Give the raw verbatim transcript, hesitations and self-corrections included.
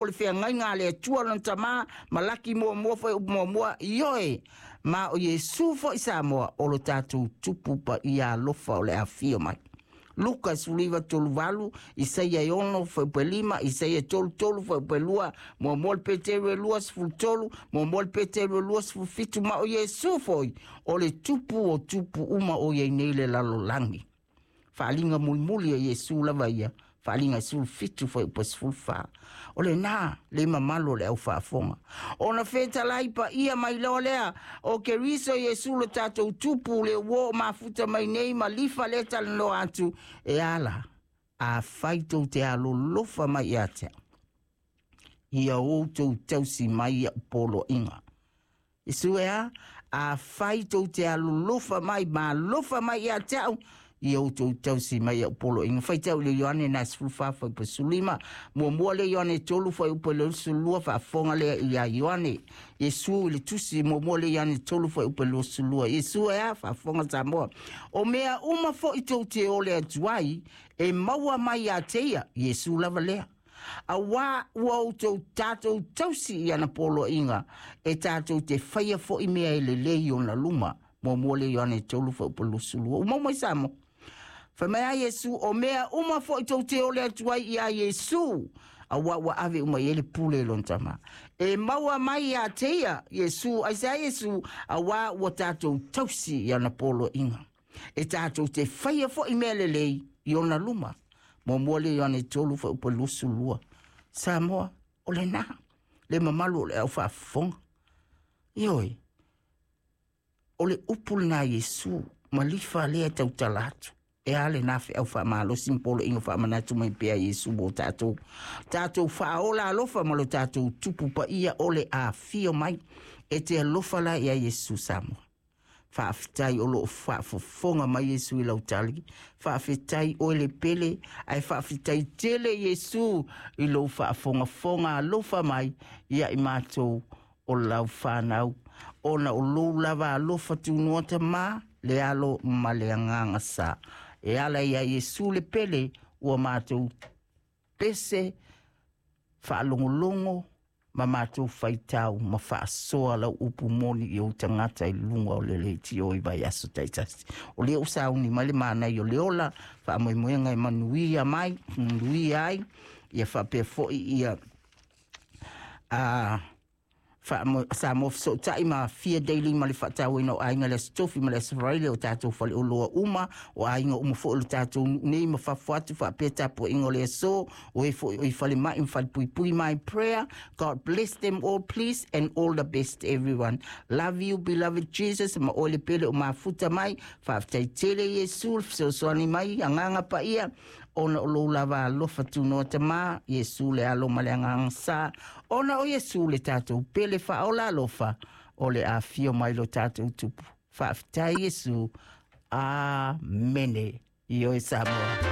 O le feagaiga a le Atua lona Tama, Malaki muamua fuaiupu muamua, ioe, ma o Iesu foi Samoa o lo tatou Tupu paia alofa o le afio mai. Luka sefuluiva tolu valu, Isaia e ono fuaiupu e lima, Isaia tolu tolu fuaiupu e lua, muamua le Peteru e lua sefulu tolu, muamua le Peteru e lua sefulu fitu, ma o Iesu foi o le Tupu o tupu uma o i ai nei le lalolagi. Faaaliga mulimuli a Iesu lava ia, Faaaliga e sefulu fitu fuaiupu e sefulu fa. O lena le mamalu o le au faafofoga. Ona fetalai paia mai loa lea o Keriso Iesu lo tatou Tupu le ua oo mafuta mai nei ma lifa lea talanoa atu e ala afai tou te alolofa mai ia te au. Ia outou tausi mai ia'u poloaiga. Iesu e a? Afai tou te alolofa mai ma alofa mai ia te au, ia outou tausi mai ia'u poloaiga. Faitau i le Ioane na sefulu fa fuaiupu sefulu lima. Muamua le Ioane tolu fuaiupu le sefulu lua, faafofoga lea ia Ioane. Iesu i le tusi muamua le Ioane tolu fuaiupu le sefulu lua. Iesu e a? Faafofoga Samoa. O mea uma foi tou te ole atu ai, e maua mai ia te ia, Iesu lava lea. Auā ua outou tatou tausi i ana poloaiga, e tatou te faia foi mea e lelei i ona luma. Muamua le Ioane tolu fuaiupu luasefulu lua. Ua maua mai Samoa. Fai mai a Iesu, o mea uma foi tou te ole atu ai iā Iesu, auā ua ave uma i ai le pule i lona Tama. E maua mai iā te ia, Iesu, aisea Iesu, auā ua tatou tausi i ana poloaiga. E tatou te faia foi mea lelei i ona luma. Muamua le Ioane tolu fuaiupu luasefulu lua. Samoa, o lena, le mamalu o le au faafofoga. Ioe, o le upu lena a Iesu, ma lifa lea e tautala atu. E a lena feau faamalosi ma poloaiga faamanatu mai pea Iesu mo tatou. Tatou faaola alofa ma lo tatou Tupu paia o le afio mai. E te alofa la ia Iesu Samoa. Faafetai o lo o faafofoga mai Iesu i lau tali. Faafetai oe le pele, ae faafetai tele Iesu i lou faafogafoga alofa mai ia i matou o lau fanau, ona o lou lava alofa tunoa Tama, le Alo ma le Agaga Sa. E ala ia Iesu le pele ua matou pese faalogologo ma matou faitau ma faasoa lau upu moni i ou tagata i luga o le leitio i vaiaso taitasi. O lea ua sauni mai le manaia o le ola, faamoemoega e manuia mai, manuia ai, ia faapea foi ia a Samoa Fesootai ma Fia Daily ma le faatauaina o aiga i le Aso Tofi ma le Aso Faraile o tatou faleoloa uma, o aiga uma foi o le tatou nuu nei ma fafo atu faapea tapuaiga o le aso, o e foi o i falemai ma falepuipui. My prayer, God bless them all please and all the best everyone. Love you beloved Jesus ma oe le pele o mafuta mai. Faafetai tele Iesu le fesoasoani mai, agaga paia, ona o lou lava alofa tunoa Tama, Iesu le Alo ma le Agaga Sa, ona o Iesu le tatou pele faaola alofa o le afio mai lo tatou Tupu. Faafetai Iesu. Amene. Ioe Samoa.